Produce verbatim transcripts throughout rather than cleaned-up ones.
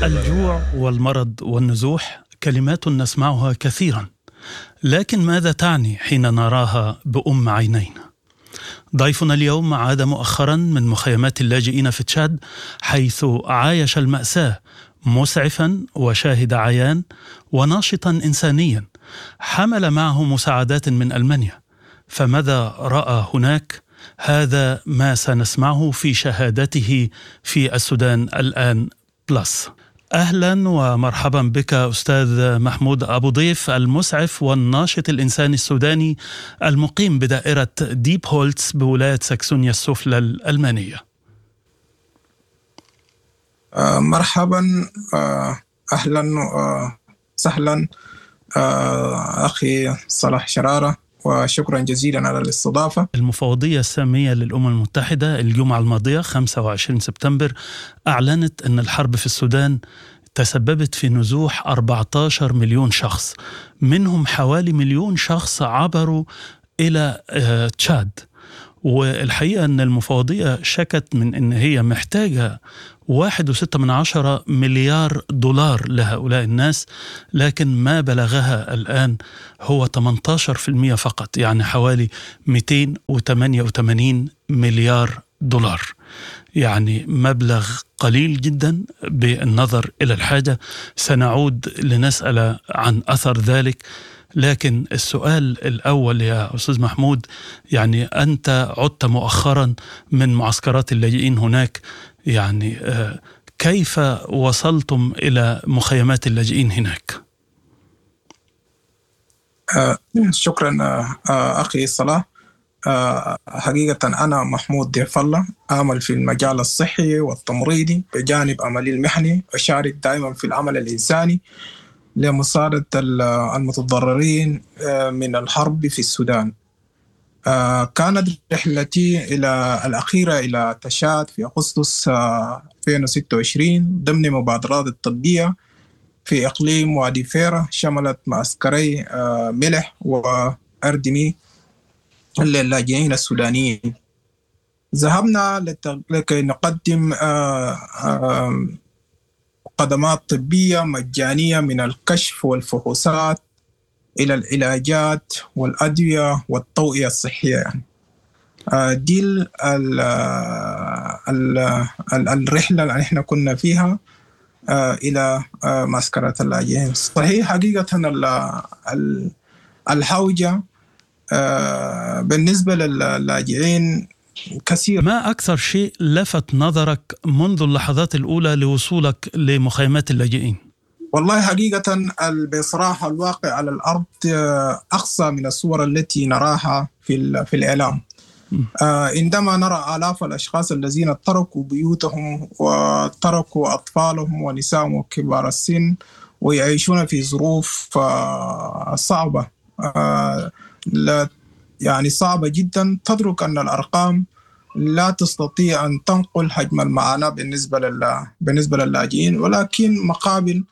الجوع والمرض والنزوح كلمات نسمعها كثيرا، لكن ماذا تعني حين نراها بأم عينينا؟ ضيفنا اليوم عاد مؤخرا من مخيمات اللاجئين في تشاد، حيث عايش المأساة مسعفا وشاهد عيان وناشطا إنسانيا، حمل معه مساعدات من ألمانيا. فماذا رأى هناك؟ هذا ما سنسمعه في شهادته في السودان الآن بلس. أهلا ومرحبا بك أستاذ محمود أبو ضيف، المسعف والناشط الإنساني السوداني المقيم بدائرة ديب هولتس بولاية ساكسونيا السفلى الألمانية. مرحبا، أهلا وسهلا أخي صلاح شرارة، وشكرا جزيلا على الاستضافة. المفوضية السامية للأمم المتحدة الجمعة الماضية خمسة وعشرين سبتمبر أعلنت أن الحرب في السودان تسببت في نزوح أربعة عشر مليون شخص، منهم حوالي مليون شخص عبروا إلى تشاد. والحقيقة أن المفوضية شكت من أن هي محتاجة واحد وستة من عشرة مليار دولار لهؤلاء الناس، لكن ما بلغها الآن هو ثمانية عشر بالمئة فقط، يعني حوالي مئتين وثمانية وثمانين مليار دولار، يعني مبلغ قليل جدا بالنظر إلى الحاجة. سنعود لنسأل عن أثر ذلك، لكن السؤال الأول يا أستاذ محمود، يعني أنت عدت مؤخرا من معسكرات اللاجئين هناك، يعني كيف وصلتم إلى مخيمات اللاجئين هناك؟ آه شكرا آه أخي صلاح. آه حقيقة أنا محمود ضيف الله، أعمل في المجال الصحي والتمريضي بجانب عملي المهني، أشارك دائما في العمل الإنساني لمساعدة المتضررين من الحرب في السودان. كانت رحلتي إلى الأخيرة إلى تشاد في أغسطس ألفين وستة وعشرين ضمن مبادرات الطبية في إقليم وادي فيرا، شملت معسكري ملح وأردمي للاجئين السودانيين. ذهبنا لكي نقدم خدمات طبية مجانية من الكشف والفحوصات إلى العلاجات والأدوية والتوعية الصحية. يعني دي ال ال ال الرحلة اللي احنا كنا فيها إلى معسكرات اللاجئين. صحيح حقيقة الحوجة بالنسبة للاجئين كثير. ما أكثر شيء لفت نظرك منذ اللحظات الأولى لوصولك لمخيمات اللاجئين؟ والله حقيقة بصراحة الواقع على الأرض أقصى من الصور التي نراها في في الإعلام. عندما نرى آلاف الأشخاص الذين تركوا بيوتهم وتركوا أطفالهم ونسائهم وكبار السن ويعيشون في ظروف صعبة، لا يعني صعبة جدا، تدرك أن الأرقام لا تستطيع أن تنقل حجم المعاناة بالنسبة لل... بالنسبة للاجئين. ولكن مقابل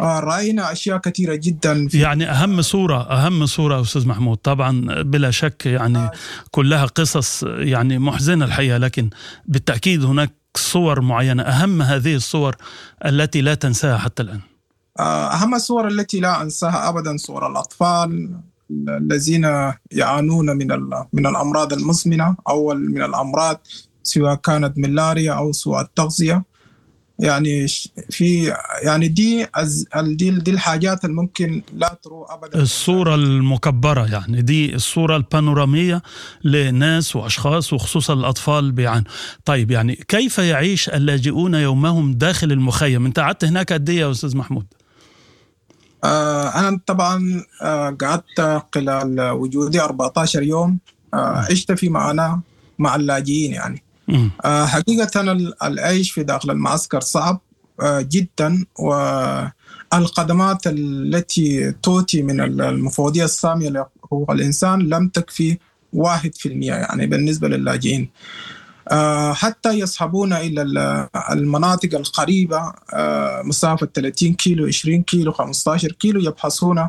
رأينا أشياء كثيرة جدا في... يعني أهم صورة أهم صورة أستاذ محمود، طبعا بلا شك يعني كلها قصص يعني محزنة الحقيقة، لكن بالتأكيد هناك صور معينة، أهم هذه الصور التي لا تنساها حتى الآن. أهم الصور التي لا أنساها أبدا صور الأطفال الذين يعانون من من الأمراض المزمنة أو من الأمراض سواء كانت ملاريا أو سوء التغذية. يعني في يعني دي دي دي الحاجات الممكن لا تروح أبدا. الصورة المكبرة، يعني دي الصورة البانورامية لناس وأشخاص وخصوصا الأطفال بيعانوا. طيب يعني كيف يعيش اللاجئون يومهم داخل المخيم؟ أنت قعدت هناك قد إيه يا أستاذ محمود؟ أنا طبعا قعدت خلال وجودي أربعة عشر يوم، عشت في معاناة مع اللاجئين. يعني حقيقة العيش في داخل المعسكر صعب جدا، والخدمات التي تؤتي من المفوضية السامية لحقوق الإنسان لم تكفي واحد في المئة يعني بالنسبة للاجئين. حتى يصحبون إلى المناطق القريبة مسافة ثلاثين كيلو، عشرين كيلو، خمسة عشر كيلو، يبحثون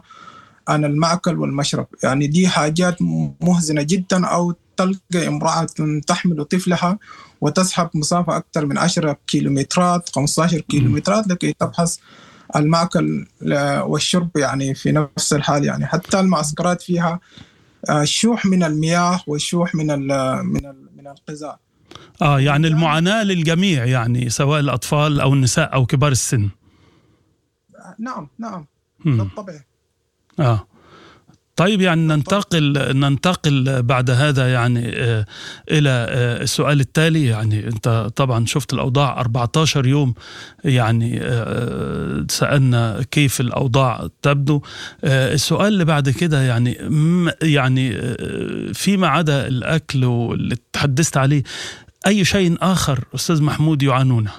عن المأكل والمشرب. يعني دي حاجات مهزنة جدا أو تلقى امرأة تحمل طفلها وتذهب مسافة أكثر من عشرة كيلومترات خمسة عشر كيلومترات لكي تبحث المأكل والشرب يعني في نفس الحال. يعني حتى المعسكرات فيها شوح من المياه وشوح من ال من ال من الغذاء. اه يعني المعاناة للجميع، يعني سواء الأطفال أو النساء أو كبار السن. نعم نعم بالطبع. اه طيب، يعني ننتقل ننتقل بعد هذا يعني إلى السؤال التالي. يعني أنت طبعا شفت الأوضاع أربعة عشر يوم، يعني سألنا كيف الأوضاع تبدو. السؤال اللي بعد كده يعني يعني فيما عدا الأكل واللي تحدثت عليه، أي شيء آخر أستاذ محمود يعانونه؟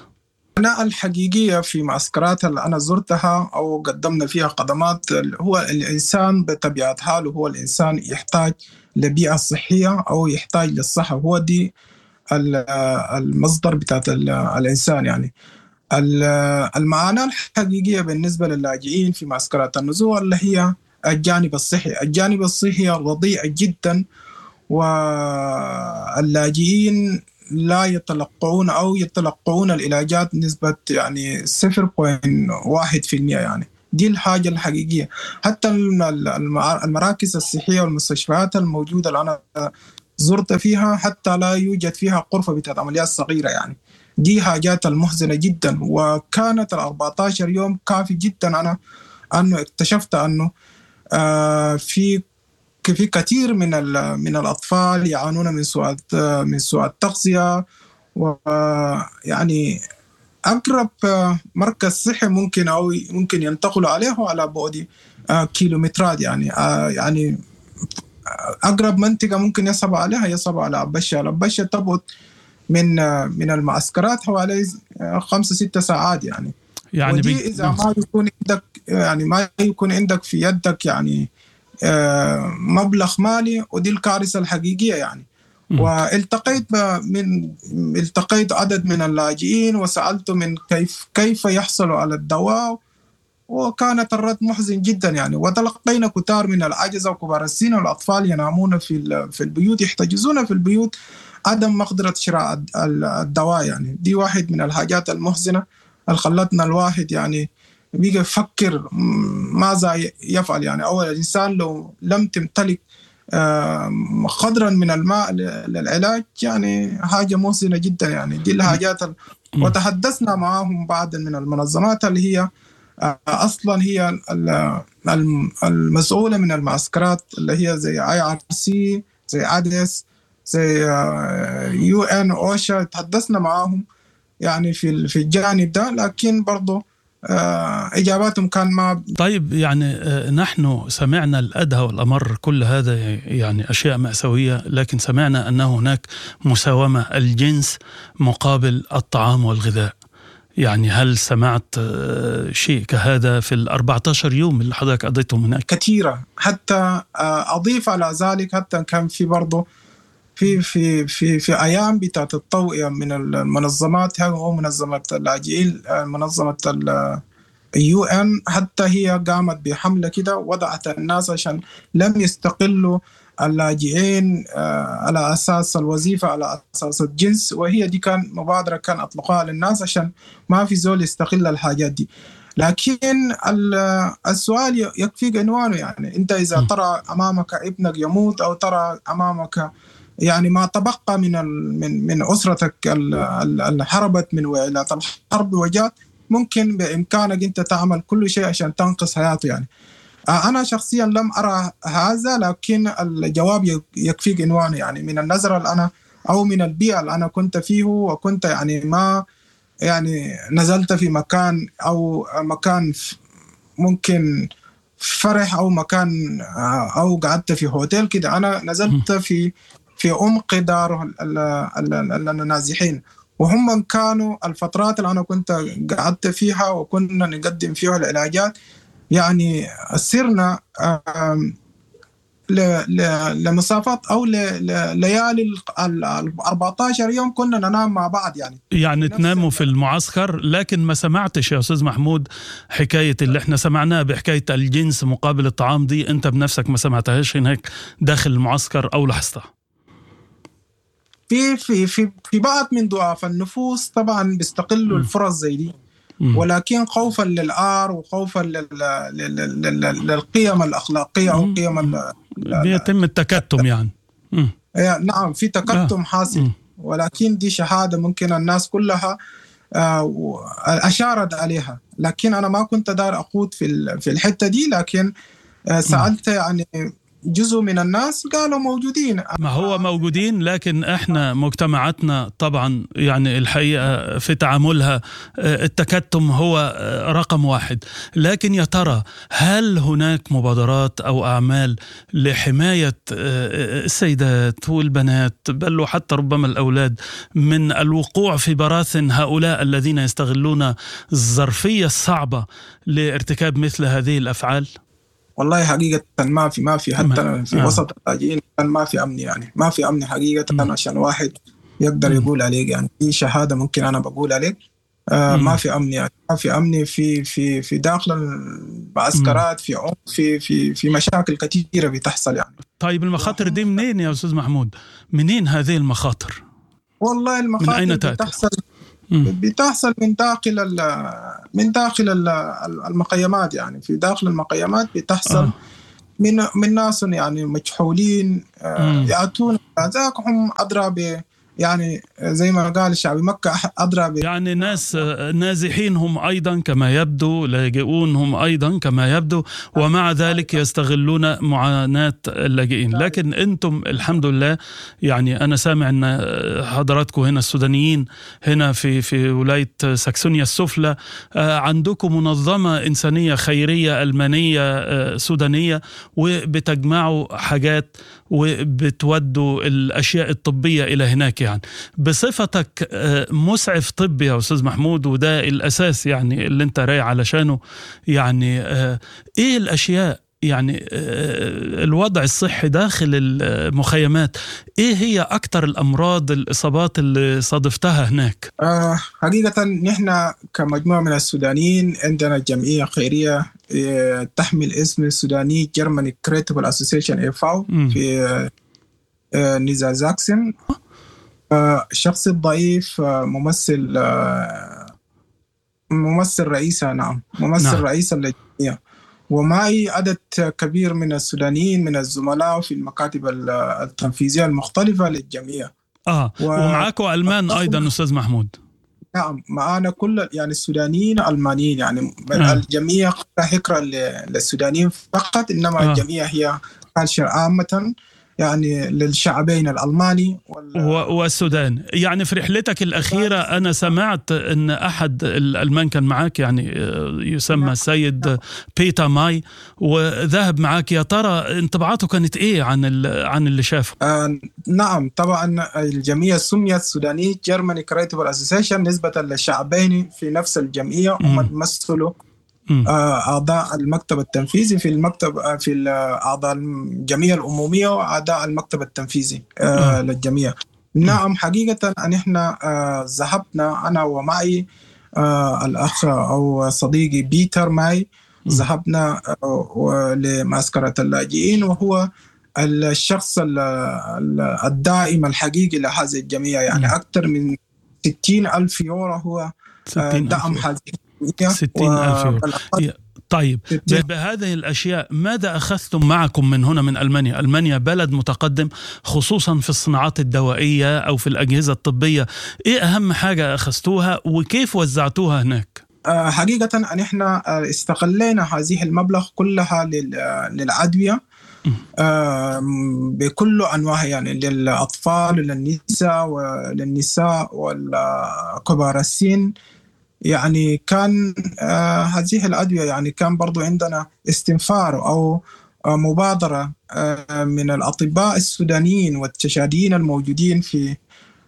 المعاناة الحقيقية في معسكرات اللي أنا زرتها أو قدمنا فيها خدمات، هو الإنسان بطبيعة حاله هو الإنسان يحتاج لبيئة صحية أو يحتاج للصحة، هو دي المصدر بتاعت الإنسان. يعني المعاناة الحقيقية بالنسبة للاجئين في معسكرات النزوح اللي هي الجانب الصحي. الجانب الصحي رديء جدا، واللاجئين لا يتلقون أو يتلقون العلاجات نسبة يعني صفر فاصلة واحد في المئة. يعني دي الحاجة الحقيقية. حتى المراكز الصحية والمستشفيات الموجودة اللي أنا زرت فيها حتى لا يوجد فيها غرفة بتاعت عمليات صغيرة. يعني دي حاجات المحزنة جدا. وكانت ال أربعة عشر يوم كافي جدا أنا أنه اكتشفت أنه آه في في كثير من من الأطفال يعانون من سوء من سوء التغذية، ويعني أقرب مركز صحي ممكن أو ممكن ينتقلوا عليه على بعد كيلومترات. يعني يعني أقرب منطقة ممكن يصب عليها يصب على أبشة. أبشة تبعد من من المعسكرات حوالي خمسة ستة ساعات. يعني يعني ودي إذا ما يكون عندك يعني ما يكون عندك في يدك يعني مبلغ مالي، ودي الكارثة الحقيقية يعني. والتقيت من التقيت عدد من اللاجئين وسألت من كيف كيف يحصلوا على الدواء، وكانت الرد محزن جدا يعني. وتلقينا كتار من العجزة وكبار السن والأطفال ينامون في في البيوت، يحتجزون في البيوت، عدم مقدرة شراء الدواء. يعني دي واحد من الحاجات المحزنة اللي خلتنا الواحد يعني بيجي يفكر ماذا يفعل. يعني أول الإنسان لو لم تمتلك قدرا من الماء للعلاج يعني حاجة محزنة جدا. يعني دي الحاجات ال... وتحدثنا معهم بعض من المنظمات اللي هي أصلا هي المسؤولة من المعسكرات اللي هي زي آي آر سي، زي أدس، زي يو إن أوشا. تحدثنا معهم يعني في في الجانب ده، لكن برضو إجاباتهم كان ما. طيب، يعني نحن سمعنا الأدهى والأمر، كل هذا يعني أشياء مأساوية، لكن سمعنا أنه هناك مساومة الجنس مقابل الطعام والغذاء. يعني هل سمعت شيء كهذا في الأربعة عشر يوم اللي حضرتك قضيتهم هناك؟ كثيرة. حتى أضيف على ذلك، حتى كان في برضو في في في في ايام بتاعت التوعية من المنظمات، هو منظمة اللاجئين، منظمة اليو ان، حتى هي قامت بحمله كده وضعت الناس عشان لم يستقلوا اللاجئين على اساس الوظيفة، على اساس الجنس. وهي دي كان مبادرة كان اطلقوها للناس عشان ما في زول يستقل الحاجات دي. لكن السؤال يكفيك عنوانه. يعني انت اذا ترى امامك ابنك يموت، او ترى امامك يعني ما تبقى من من من أسرتك اللي هربت من ويلات الحرب وجات، ممكن بإمكانك أنت تعمل كل شيء عشان تنقذ حياته. يعني أنا شخصيا لم أرى هذا، لكن الجواب يكفيك عنوانه. يعني من النظرة اللي أنا أو من البيئة اللي أنا كنت فيه، وكنت يعني ما يعني نزلت في مكان أو مكان ممكن فرح أو مكان أو قعدت في هوتيل كده، أنا نزلت في في عمق دار النازحين، وهم كانوا الفترات اللي أنا كنت قعدت فيها وكنا نقدم فيها العلاجات، يعني سرنا لمسافات أو لليالي ال أربعة عشر يوم كنا ننام مع بعض. يعني يعني تناموا في المعسكر. لكن ما سمعتش يا أستاذ محمود حكاية اللي احنا سمعناها بحكاية الجنس مقابل الطعام دي، أنت بنفسك ما سمعتهاش هناك داخل المعسكر أو لاحظتها؟ في في في في بعض من ضعاف النفوس طبعا بيستغلوا الفرص زي دي، ولكن خوفا للعار وخوفا لل... لل... لل... للقيم الأخلاقية أو قيم ال... بيتم التكتم يعني. مم. نعم في تكتم حاصل، ولكن دي شهادة ممكن الناس كلها أشارت عليها، لكن أنا ما كنت دار أخوض في في الحتة دي، لكن سألت يعني جزء من الناس قالوا موجودين. ما هو موجودين، لكن احنا مجتمعاتنا طبعا يعني الحقيقة في تعاملها التكتم هو رقم واحد. لكن يا ترى هل هناك مبادرات أو أعمال لحماية السيدات والبنات بل وحتى ربما الأولاد من الوقوع في براثن هؤلاء الذين يستغلون الظرفية الصعبة لارتكاب مثل هذه الأفعال؟ والله حقيقة ما في ما في حتى في آه. وسط اللاجئين ما في أمن، يعني ما في أمن حقيقة م. عشان واحد يقدر يقول عليك، يعني في شهادة ممكن أنا بقول عليك آه ما في أمن، يعني ما في أمن في في في داخل المعسكرات، في عنف، في في في مشاكل كثيرة بتحصل يعني. طيب المخاطر دي منين يا أستاذ محمود؟ منين هذه المخاطر؟ والله المخاطر من أين تأتي؟ بتحصل بتحصل من داخل من داخل المخيمات، يعني في داخل المخيمات بتحصل آه. من من ناس يعني مجهولين آه يأتون ذاك هم أدرى ب يعني زي ما قال الشعب مكة أدرى ب يعني ناس نازحين هم أيضا كما يبدو، لاجئون هم أيضا كما يبدو، ومع ذلك يستغلون معاناة اللاجئين. لكن أنتم الحمد لله، يعني أنا سامع أن حضراتكم هنا السودانيين هنا في في ولاية ساكسونيا السفلى عندكم منظمة إنسانية خيرية ألمانية سودانية، وبتجمعوا حاجات وبتودوا الأشياء الطبية إلى هناك. يعني بصفتك مسعف طبي يا أستاذ محمود، وده الأساس يعني اللي أنت رايح علشانه، يعني إيه الأشياء يعني الوضع الصحي داخل المخيمات، إيه هي أكتر الأمراض الإصابات اللي صادفتها هناك؟ آه حقيقة نحن كمجموعة من السودانيين عندنا جمعية خيرية تحمل اسم السوداني Germany Charitable Association إي فاو في نيزازاكسن. الشخص الضعيف ممثل ممثل رئيسة، نعم ممثل نعم. رئيس اللجنة، ومعي عدد كبير من السودانيين من الزملاء في المكاتب التنفيذية المختلفة للجمعية. آه و... ومعاكم ألمان أيضا أستاذ محمود؟ نعم معانا كل يعني السودانيين ألمانيين، يعني آه. الجمعية حكرة للسودانيين فقط، إنما آه. الجمعية هي culture عامة يعني للشعبين الألماني وال... والسودان. يعني في رحلتك الأخيرة أنا سمعت أن أحد الألمان كان معاك، يعني يسمى نعم. السيد بيتا ماي، وذهب معاك، يا ترى انطباعاته كانت إيه عن ال... عن اللي شافه؟ آه نعم طبعا الجمعية سميت Sudanese Germany Charitable Association نسبة للشعبين في نفس الجمعية، هم تمثلوا أعضاء المكتب التنفيذي في المكتب في أعضاء الجمعية العمومية وأعضاء المكتب التنفيذي آه. للجمعية. نعم حقيقة أن إحنا ذهبنا أنا ومعي الأخ أو صديقي بيتر ماي، ذهبنا لمعسكرة اللاجئين، وهو الشخص الدائم الحقيقي لهذه الجمعية، يعني أكثر من ستين ألف يورو هو دعم هذه ستين ألف يورو. طيب بهذه الأشياء ماذا أخذتم معكم من هنا من ألمانيا؟ ألمانيا بلد متقدم خصوصا في الصناعات الدوائية أو في الأجهزة الطبية، إيه أهم حاجة أخذتوها وكيف وزعتوها هناك؟ حقيقة أن إحنا استغلينا هذه المبلغ كلها للأدوية بكل أنواعها، يعني للأطفال وللنساء وللنساء والكبار السن. يعني كان آه هذه الأدوية يعني كان برضو عندنا استنفار أو آه مبادرة آه من الأطباء السودانيين والتشاديين الموجودين في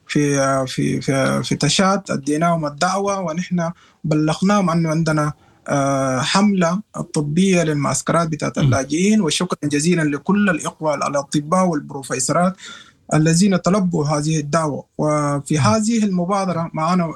في آه في في, في تشاد، أديناهم الدعوة ونحن بلغناهم أنه عندنا آه حملة الطبية للمعسكرات بتاعت اللاجئين. وشكرا جزيلا لكل الإخوة الأطباء والبروفيسورات الذين تلبوا هذه الدعوة. وفي هذه المبادرة معنا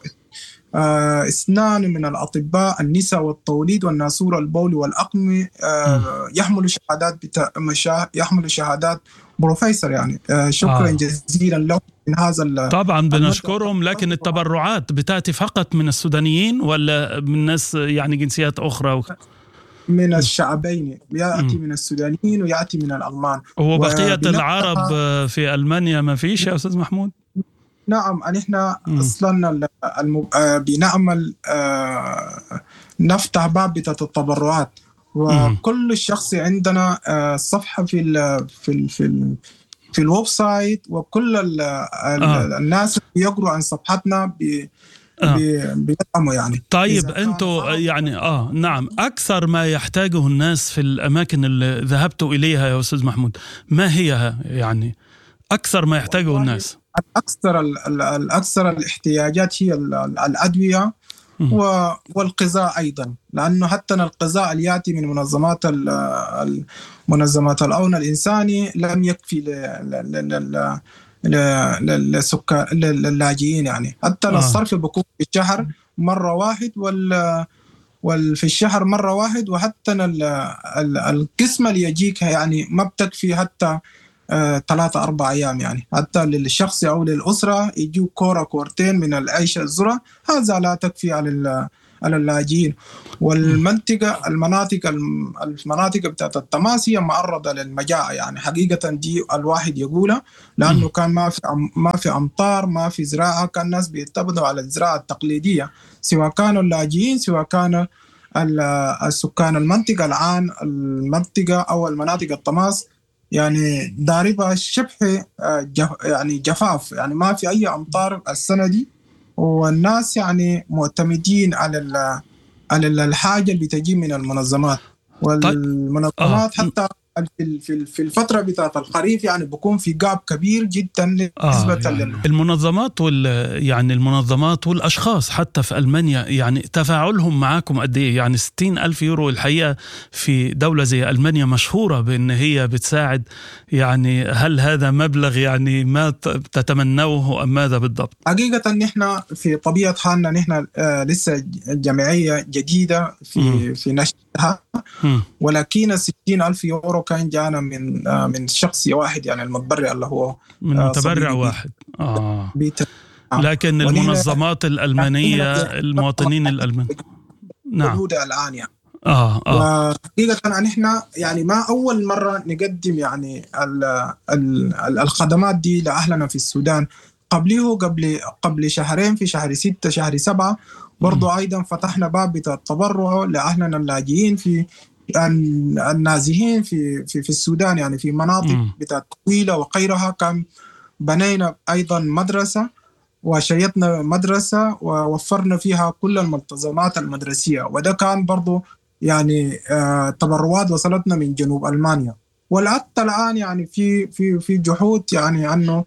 آه، اثنان من الأطباء النساء والتوليد والناسور البولي والأقمي، آه، يحملوا شهادات بتا... مشا... يحملوا شهادات بروفيسور يعني. شكرا آه. جزيلا له من هذا. طبعا بنشكرهم، لكن التبرعات بتأتي فقط من السودانيين ولا من ناس يعني جنسيات أخرى؟ من الشعبين، يأتي من السودانيين ويأتي من الألمان. وبقية العرب في ألمانيا ما فيش يا أستاذ محمود؟ نعم، نحن أصلا بنعمل نفتح باب بتاعت التبرعات، وكل الشخص عندنا صفحة في ال في ال في ال في ال website، وكل ال آه. الناس يقروا عن صفحتنا بي آه. بيدعموا يعني. طيب انتوا يعني اه نعم، اكثر ما يحتاجه الناس في الاماكن اللي ذهبتوا اليها يا استاذ محمود ما هي يعني اكثر ما يحتاجه الناس؟ الاكثر الاكثر الاحتياجات هي الادويه والغذاء ايضا، لانه حتى الغذاء اللي ياتي من منظمات منظمات العون الانساني لم يكفي ل للسكان للاجئين يعني. حتى آه. الصرف بيكون في الشهر مرة واحد، وال وال في الشهر مرة واحد، وحتى القسمة اللي يجيك يعني ما بتكفي حتى ثلاثة أربع أيام يعني. حتى للشخص أو للأسرة يجوا كورة كورتين من العيش الذرة، هذا لا تكفي على على اللاجئين. والمنطقة المناطق المناطق بتاعت التماس هي معرضة للمجاعة يعني حقيقة، دي الواحد يقولها، لأنه كان ما في ما في أمطار، ما في زراعة، كان الناس بيعتمدوا على الزراعة التقليدية، سواء كانوا اللاجئين سواء كانوا السكان المنطقة. الآن المنطقة أو المناطق التماس يعني ضاربة شبه يعني جفاف، يعني ما في أي أمطار السنة دي، والناس يعني معتمدين على على الحاجة اللي بتجي من المنظمات. والمنظمات حتى في في الفترة بتاعت الخريف يعني بيكون في جاب كبير جدا نسبة آه يعني لل... المنظمات وال يعني المنظمات والأشخاص حتى في ألمانيا يعني تفاعلهم معاكم قد إيه؟ يعني ستين ألف يورو الحقيقة في دولة زي ألمانيا مشهورة بأن هي بتساعد، يعني هل هذا مبلغ يعني ما تتمنوه أم ماذا بالضبط؟ حقيقة نحن في طبيعة حالنا نحن لسه جمعية جديدة في م. في نشأتها، ولكن ستين ألف يورو كان جانا من من شخص واحد يعني المتبرع اللي هو من متبرع واحد. آه. بيتر. آه. لكن المنظمات الألمانية المواطنين الألمان نعم موجودة الآن يعني. آه. آه. وحقيقة نحن يعني ما أول مرة نقدم يعني ال ال الخدمات دي لأهلنا في السودان. قبله قبل قبل شهرين في شهر ستة شهر سبعة برضو م. أيضا فتحنا باب التبرع لأهلنا اللاجئين في النازحين في في في السودان يعني في مناطق بتاعت طويلة وغيرها. كان بنينا أيضا مدرسة وشيدنا مدرسة ووفرنا فيها كل الملتزمات المدرسية، وده كان برضو يعني آه تبرعات وصلتنا من جنوب ألمانيا. والحتى الآن يعني في في في جهود يعني أنه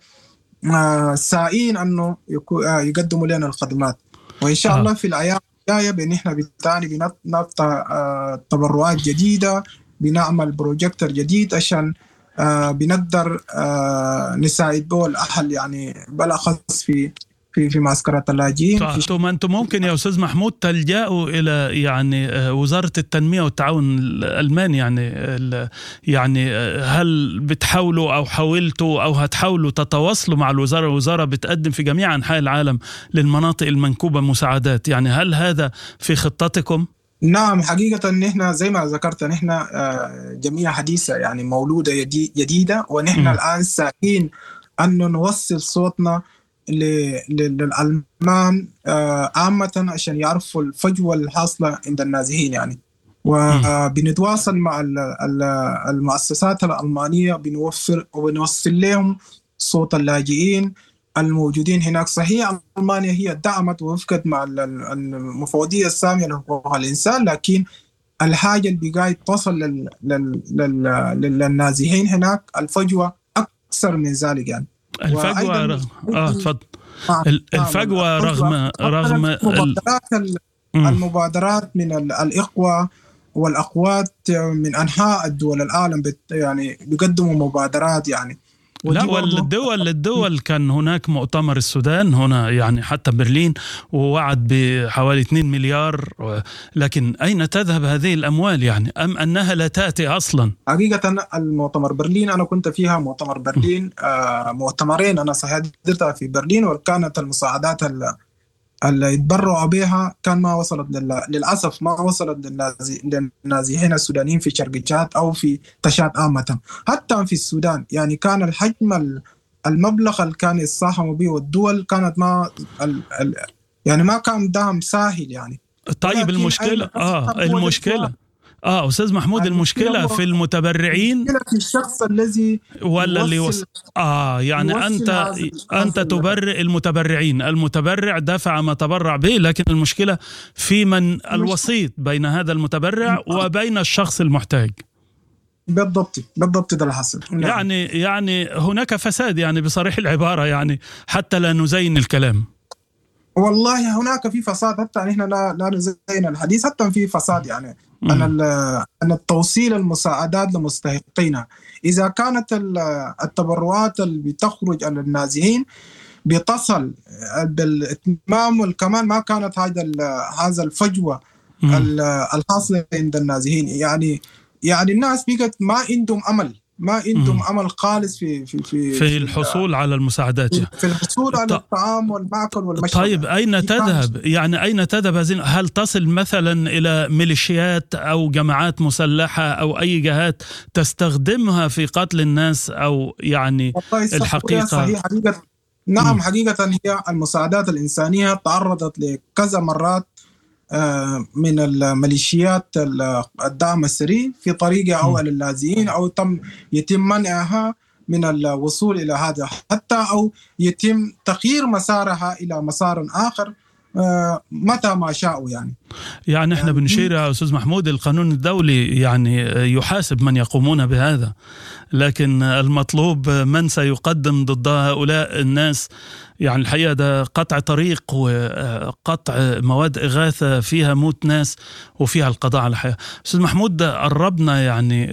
آه سائين أنه يقدموا لنا الخدمات، وإن شاء الله في الأيام الجاية بإن إحنا بالتالي بنفتح تبرعات جديدة، بنعمل بروجيكتور جديد عشان بنقدر نساعد به الأهل يعني بالأخص في في في معسكرات اللاجئين. طيب انتم ممكن يا استاذ محمود تلجأوا الى يعني وزاره التنميه والتعاون الالماني، يعني يعني هل بتحاولوا او حاولتوا او هتحاولوا تتواصلوا مع الوزاره؟ الوزاره بتقدم في جميع انحاء العالم للمناطق المنكوبه مساعدات، يعني هل هذا في خطتكم؟ نعم حقيقة نحن زي ما ذكرت نحن جميع حديثة يعني مولودة جديدة، ونحن م. الآن سائين أن نوصل صوتنا للألمان عامة عشان يعرفوا الفجوة الحاصلة عند النازحين يعني. وبنتواصل مع المؤسسات الألمانية، بنوفر وبنوصل لهم صوت اللاجئين الموجودين هناك. صحيح ألمانيا هي دعمت ووفقت مع المفوضية السامية لحقوق الإنسان، لكن الحاجة اللي بقاية تصل لل... لل... لل... للنازحين هناك الفجوة أكثر من ذلك يعني. الفجوة رغم اه تفضل. الفجوة رغم رغم المبادرات ال... المبادرات من الإخوة والأخوات من أنحاء الدول العالم بت... يعني بيقدموا مبادرات يعني. لا، والدول الدول كان هناك مؤتمر السودان هنا يعني حتى برلين، ووعد بحوالي اثنين مليار، لكن أين تذهب هذه الأموال يعني، أم أنها لا تأتي أصلا؟ حقيقة المؤتمر برلين أنا كنت فيها، مؤتمر برلين آه مؤتمرين أنا حضرتها في برلين، وكانت المساعدات اللي يتبرعوا بها كان ما وصلت لل... للأسف ما وصلت للنازي... للنازحين السودانيين في شرق تشاد أو في تشاد عامة، حتى في السودان. يعني كان الحجم المبلغ اللي كان يساهموا به والدول كانت ما ال... ال... يعني ما كان دعم ساهل يعني. طيب المشكلة آه المشكلة اه استاذ محمود، المشكلة في المتبرعين، المشكلة في الشخص الذي ولا اللي يوصل. اه يعني انت انت تبرئ المتبرعين، المتبرع دفع ما تبرع به، لكن المشكلة في من الوسيط بين هذا المتبرع وبين الشخص المحتاج. بالضبط بالضبط ده اللي حصل. يعني يعني هناك فساد يعني بصريح العبارة، يعني حتى لا نزين الكلام. والله هناك في فساد، حتى نحن لا لا نزين الحديث، حتى في فساد يعني أن أن التوصيل المساعدات لمستحقينها، إذا كانت التبرعات اللي بتخرج على النازحين بتصل بالإتمام والكمال، ما كانت هذا هذا الفجوة الحاصلة عند النازحين. يعني يعني الناس بقت ما عندهم أمل، ما عندهم أمل خالص في في في في الحصول على المساعدات، في الحصول على الطعام والمأكل والمشرب. طيب أين تذهب؟ يعني أين تذهب هذه؟ هل تصل مثلا إلى ميليشيات أو جماعات مسلحة أو أي جهات تستخدمها في قتل الناس أو يعني الحقيقة؟ صحيح حقيقة، نعم. م. حقيقة هي المساعدات الإنسانية تعرضت لكذا مرات من الميليشيات الدعم السري في طريقة أو للاجئين، أو تم يتم منعها من الوصول إلى هذا حتى، أو يتم تغيير مسارها إلى مسار آخر متى ما شاءوا. يعني يعني احنا يعني بنشير يا أستاذ محمود، القانون الدولي يعني يحاسب من يقومون بهذا، لكن المطلوب من سيقدم ضد هؤلاء الناس. يعني الحقيقة ده قطع طريق وقطع مواد إغاثة فيها موت ناس وفيها القضاء على الحياة. أستاذ محمود، قربنا يعني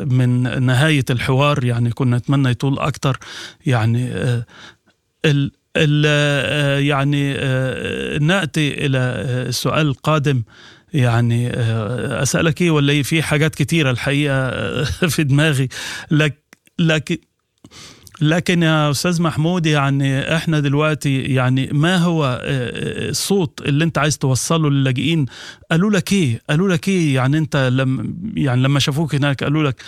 من نهاية الحوار، يعني كنا نتمنى يطول أكتر. يعني ال يعني نأتي إلى السؤال القادم. يعني أسألك إيه ولا في حاجات كتيرة الحقيقة في دماغي، لك لكن لكن يا أستاذ محمود، يعني إحنا دلوقتي يعني ما هو الصوت اللي أنت عايز توصله للاجئين؟ قالوا لك إيه؟ قالوا لك إيه؟ يعني أنت لم يعني لما شافوك هناك قالوا لك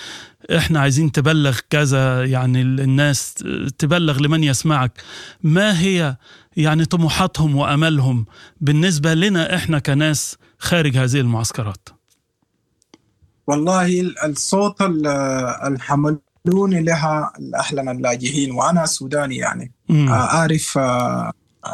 إحنا عايزين تبلغ كذا، يعني الناس تبلغ لمن يسمعك. ما هي يعني طموحاتهم وأملهم بالنسبة لنا إحنا كناس خارج هذه المعسكرات؟ والله الصوت الحمل لوني لها أهلنا اللاجئين، وأنا سوداني يعني مم. أعرف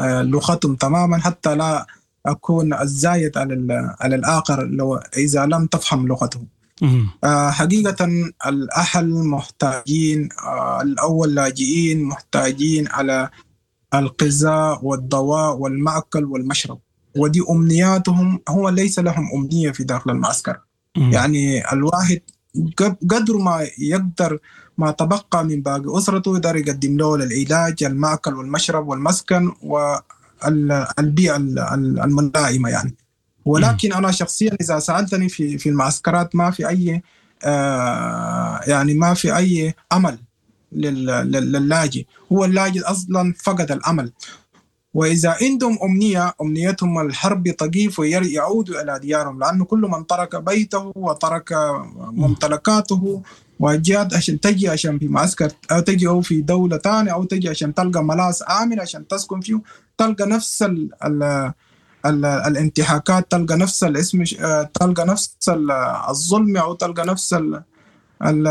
لغتهم تماما، حتى لا أكون الزايد على على الآخر لو إذا لم تفهم لغتهم. مم. حقيقة الأهل محتاجين، الأول لاجئين محتاجين على الغذاء والدواء والمأكل والمشرب، ودي أمنياتهم. هو ليس لهم أمنية في داخل المعسكر. مم. يعني الواحد قدر ما يقدر ما تبقى من باقي أسرته يقدر يقدم له العلاج، المأكل والمشرب والمسكن والبيئة الملائمة يعني. ولكن أنا شخصيا إذا سألتني في في المعسكرات ما في أي آه يعني ما في أي أمل للاجئ. هو اللاجئ أصلا فقد الأمل، وإذا عندهم أمنية أمنيتهم الحرب تقيف ويعودوا إلى ديارهم، لأنه كل من ترك بيته وترك ممتلكاته وجاءت عشان تجي عشان في معسكر أو تجي أو في دولة تانية أو تجي عشان تلقى ملاذ آمن عشان تسكن فيه، تلقى نفس ال ال ال الانتهاكات، تلقى نفس الاسم، تلقى نفس الظلم، أو تلقى نفس ال ال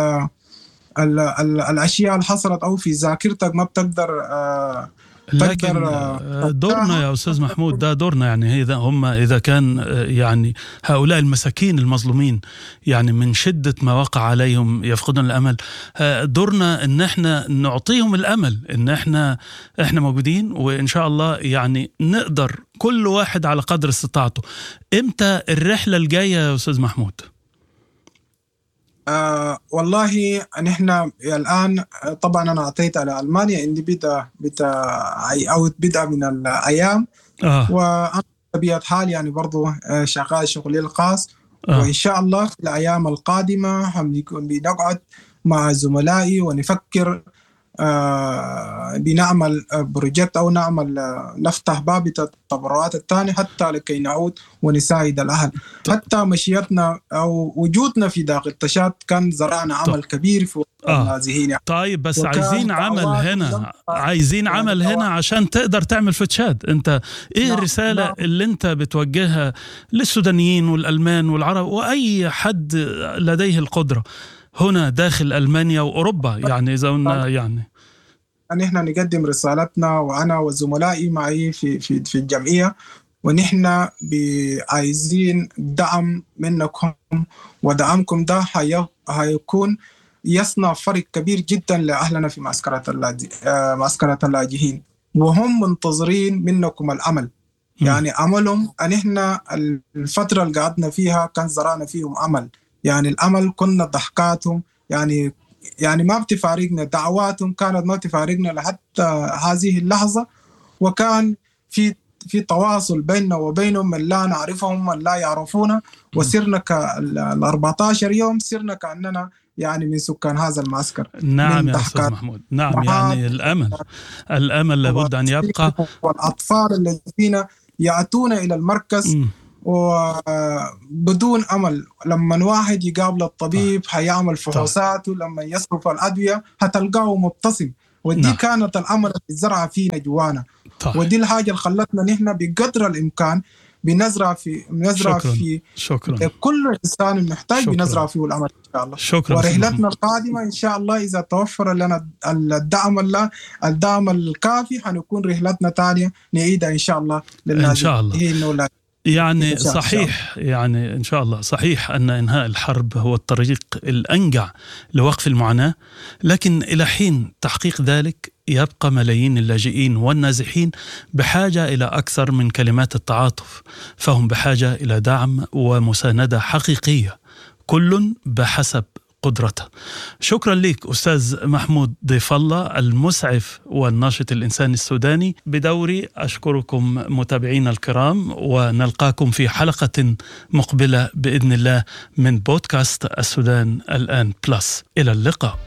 ال ال الأشياء اللي حصلت أو في ذاكرتك ما بتقدر. لكن دورنا يا أستاذ محمود، ده دورنا يعني. إذا هم إذا كان يعني هؤلاء المساكين المظلومين يعني من شدة ما وقع عليهم يفقدون الأمل، دورنا إن إحنا نعطيهم الأمل، إن إحنا إحنا موجودين وإن شاء الله يعني نقدر كل واحد على قدر استطاعته. إمتى الرحلة الجاية يا أستاذ محمود؟ آه والله نحن الآن طبعا أنا أعطيت على ألمانيا، عندي بدء بدء أو بدء من الأيام آه. وأنا بطبيعة حال يعني برضو شغال شغلي الخاص آه. وإن شاء الله في الأيام القادمة بنقعد مع زملائي ونفكر آه بنعمل project أو نعمل نفتح باب التبرعات الثاني حتى لكي نعود ونساعد الأهل. حتى مشيتنا أو وجودنا في داخل تشاد كان زرعنا عمل كبير في النازحين. آه. طيب بس عايزين عمل هنا، عايزين عمل هنا عشان تقدر تعمل في تشاد. أنت إيه نعم. الرسالة نعم. اللي أنت بتوجهها للسودانيين والألمان والعرب وأي حد لديه القدرة هنا داخل ألمانيا وأوروبا؟ يعني إذا قلنا يعني نحن نقدم رسالتنا وأنا وزملائي معي في في في الجمعية، ونحن عايزين دعم منكم، ودعمكم ده هيكون يصنع فرق كبير جدا لأهلنا في معسكرات معسكرات اللاجئين، وهم منتظرين منكم الأمل. يعني أملهم أن إحنا الفترة اللي قعدنا فيها كان زرعنا فيهم أمل، يعني الأمل كنا ضحكاتهم، يعني يعني ما بتفارقنا، دعواتهم كانت ما بتفارقنا لحتى هذه اللحظة، وكان في في تواصل بيننا وبينهم من لا نعرفهم من لا يعرفونا، وصرنا كال أربعة عشر يوم صرنا كأننا يعني من سكان هذا المعسكر. نعم يا أستاذ محمود، نعم يعني الأمل الأمل لابد أن يبقى، والأطفال الذين يأتون إلى المركز م. وبدون أمل، لما واحد يقابل الطبيب هيعمل فحوصاته، لما يصرف الأدوية هتلقاه مبتسم، ودي نعم. كانت الأمل اللي زرع فينا جوانا. طيب. ودي الحاجة اللي خلتنا نحن بقدر الإمكان بنزرع في بنزرع شكراً. في شكرا. كل إنسان محتاج شكراً. بنزرع فيه الأمل إن شاء الله. شكرا. ورحلتنا القادمة إن شاء الله إذا توفر لنا الدعم الله الدعم الكافي حنكون رحلتنا تانية نعيدها إن شاء الله إن شاء الله. يعني صحيح صحيح يعني إن شاء الله صحيح أن إنهاء الحرب هو الطريق الأنجع لوقف المعاناة، لكن إلى حين تحقيق ذلك يبقى ملايين اللاجئين والنازحين بحاجة إلى أكثر من كلمات التعاطف، فهم بحاجة إلى دعم ومساندة حقيقية، كل بحسب قدرته. شكرا لك أستاذ محمود ضيف الله المسعف والناشط الإنساني السوداني. بدوري أشكركم متابعينا الكرام، ونلقاكم في حلقة مقبلة بإذن الله من بودكاست السودان الآن بلس. إلى اللقاء.